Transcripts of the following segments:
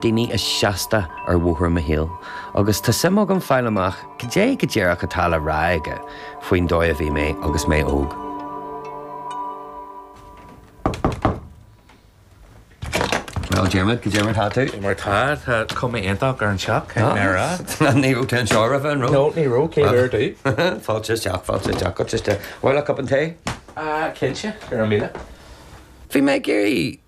Daoine is seasta ar bhóthar mo shaoil agus tá suim agam fáil amach cad é go díreach atá le rá aige faoin dóigh a bhí mé agus mé óg. Bhuel, Diarmuid, cad é mar tá tú? Mar tá, tá cuma iontach ar an teach, caithfidh mé a rá. Ní raibh tú anseo roimhe, an raibh? No, ní raibh, céad uair domh. Fáilte isteach, fáilte isteach, go isteach. Bhfuil a cupán tae? Cinnte, go raibh míle. Bhí mé ag iarraidh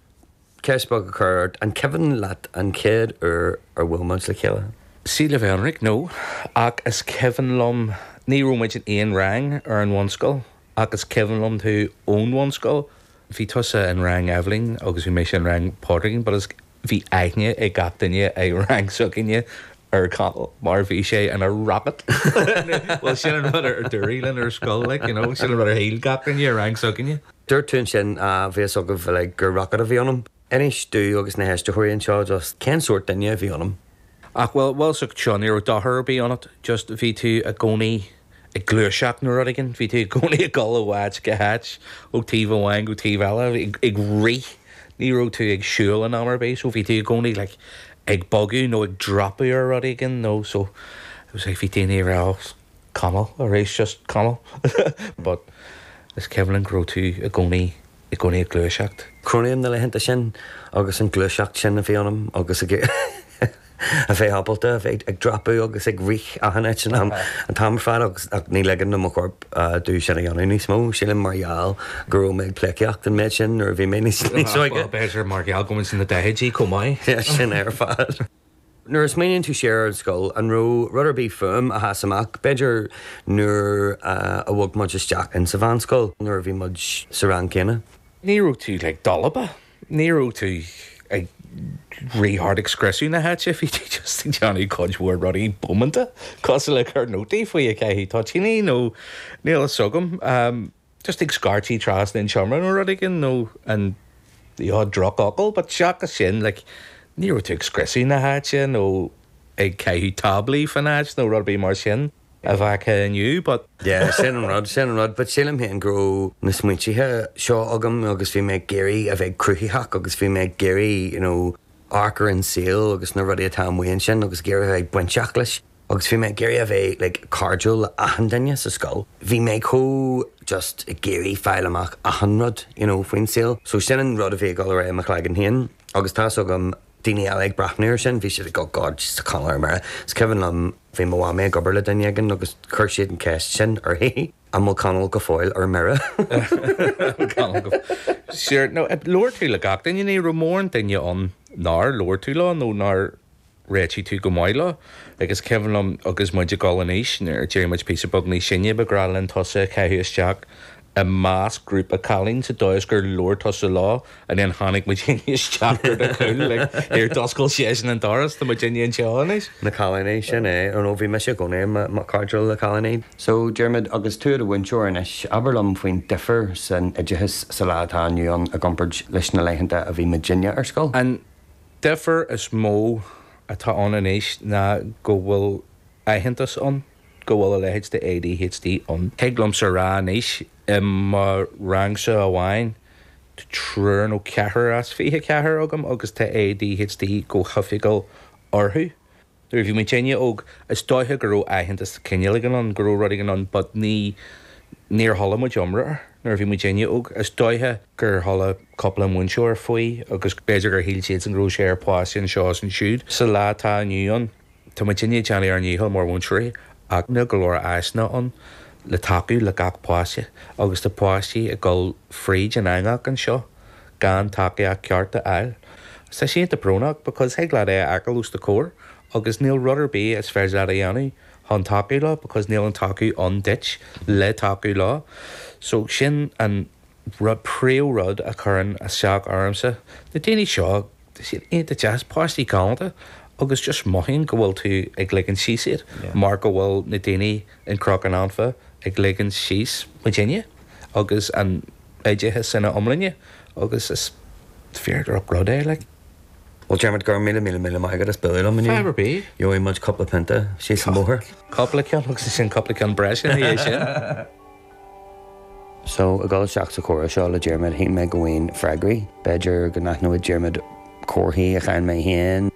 Ceist beag a chur ort, an cuimhin leat an chéad uair ar bhuail muid le chéile? Sea, le bheith ionraic, no. Ach is cuimhin liom, ní raibh muid in aon rang ar an bhunscoil, ach is cuimhin liom tú ón bhunscoil. Bhí tusa in rang Eibhlín agus bhí mise in rang Pádraigín, but is, bhí aithne ag gach duine i rang s'againne ar Conall mar bhí sé ina rocket. Bhuel, sin an rud ar dúradh linn ar scoil, like, you know, sin an rud ar shíl gach duine i rang s'againne. Dúirt tú ansin, bhí fhios agaibh uilig gur rocket a bhí ionam. Inis domh agus na héisteoirí anseo just cén sórt duine a bhí ionam. Ach bhuel, bhuel so seo, ní raibh dochar ar bith ionat, just bhí tú i gcónaí ag gluaiseacht nó rud éigin, bhí tú i gcónaí ag dul ó áit go háit, ó taobh amháin go taobh eile, ag rith, ní raibh tú ag siúl in am ar bith, so bhí tú i gcónaí like ag bogadh nó ag dreapadh ar rud éigin nó so it was like bhí daoine ag rá oh Conall arís just Conall but is cuimhin liom go raibh tú i gcónaí i gcónaí ag gluaiseacht. Cronaím na laethanta sin agus an ghluaiseacht sin a bhí ionam agus ag a bheith ábalta a bheith ag dreapadh agus ag rith achan áit an am an t-am ar fad agus ach ní ligeann do mo chorp domh sin a dhéanamh níos mó. Sílim mar gheall go raibh mé ag pleidhcíocht an méid sin nuair a bhí mé níos níos óige. Bhuel b'fhéidir mar gheall go bhfuil sna daichidí chomh maith. Sin é ar fad. Nuair a smaoiníonn tú siar ar an scoil, an raibh rud ar bith fúm a sheas amach? B'fhéidir nuair a bhog muid isteach insa mheánscoil, nuair a bhí muid sa rang céanna? Ní raibh tú like dalba, ní raibh tú ag rith thart ag scriosadh na háite, bhí tú just ag déanamh cuid mhór rudaí bómánta, cosúil le cur nótaí faoi ag caitheamh toitíní nó níl fhios agam. Just ag scairtigh trasna an tseomra nó rud éigin nó an the odd drochfhocal but seachas sin like ní raibh tú ag scriosadh na háite nó ag caitheamh táblaí fan áit nó rud ar bith mar sin a bheadh inniu but. Yeah, sin an rud, sin an rud but sílim féin go raibh na smaointithe seo agam agus bhí mé ag iarraidh a bheith cruthaitheach agus bhí mé ag iarraidh you know amharc ar an saol agus na rudaí atá amuigh ansin agus ag iarraidh a bheith bainteach leis. Agus bhí mé ag iarraidh a bheith like cairdiúil le achan duine sa scoil. Bhí mé chomh just ag iarraidh fáil amach achan rud you know faoin saol. So sin an rud a bhí ag dul ar aghaidh i mo chloigeann féin agus tá's agam daoine eile ag breathnú ar sin bhí siad ag oh God tá Conall ar mire. Is cuimhin liom bhí mo mhamaí ag obair le duine éigin agus chuir siad an ceist sin uirthi an bhfuil Conall go fóill ar mire? Conall go Sure, no, labhair tú le gach duine, ní raibh mórán duine ann nár labhair tú leo nó nár réitigh tú go maith leo. Agus cuimhin liom agus muid ag dul in aois, nuair a d'éirigh muid píosa beag níos sine, ba ghnách linn tusa a chaitheamh isteach i measc grúpa cailín sa dóigh is gur labhair tusa leo and then tháinig muidinne isteach ar do chúl like here d'oscail seisean an doras tá muidinne anseo anois. Na cailíní, sin é. Nó bhí mise i gcónaí cairdiúil le cailíní. So, Diarmuid, agus tú i do mhúinteoir anois, abair liom faoin difear san oideachas sa lá atá inniu ann i gcomparáid leis na laethanta a bhí muidinne ar scoil. An difear is mó atá ann anois ná go bhfuil aitheantas ann go bhfuil a leithéid de ADHD ann. Thig liomsa a rá anois, i mo rangsa amháin, tá triúr nó ceathrar as 24 agam agus tá ADHD go hoifigiúil orthu. Nuair a bhí muidinne óg, is dóiche go raibh aitheantas cineál éigin ann, go raibh rud éigin ann but ní, níor chuala muid iomrá air nuair a bhí muidinne óg. Is dóiche gur chuala cúpla múinteoir faoi agus b'fhéidir gur shíl siadsan go raibh sé ar pháiste anseo is ansiúd. Sa lá atá inniu ann, tá muidinne ag déanamh ár ndícheall mar mhúinteoirí ach níl go leor áiseanna ann le tacú le gach páiste agus tá páistí ag dul fríd an eangach anseo. gan tacaíocht ceart a fháil. Tá sé iontach brónach because thig leat é a fheiceáil os do chomhair agus níl rud ar bith is féidir leat a dhéanamh chun tacú leo because níl an tacú ann duit le tacú leo. So sin an rud, príomh rud a chuireann isteach ormsa. Na daoine seo, tá siad iontach deas, páistí galánta agus just mothaím go bhfuil tú ag ligean síos iad mar go bhfuil na daoine in Cnoc an Anfa ag ligean síos muidinne agus an oideachas ina iomláine agus is fíor droch rud é like. Bhuel Diarmuid, go raibh míle míle míle maith agat as bualadh liom inniu. Fadhb ar bith. Gheobhaidh muid cúpla pionta síos an bóthar. Cúpla ceann agus ansin cúpla ceann breise ina dhiaidh sin. So, ag dul isteach sa chomhrá seo le Diarmuid, shíl mé go bhfaighinn freagraí. B'fhéidir go n-aithneodh Diarmuid comharthaí a chaill mé féin.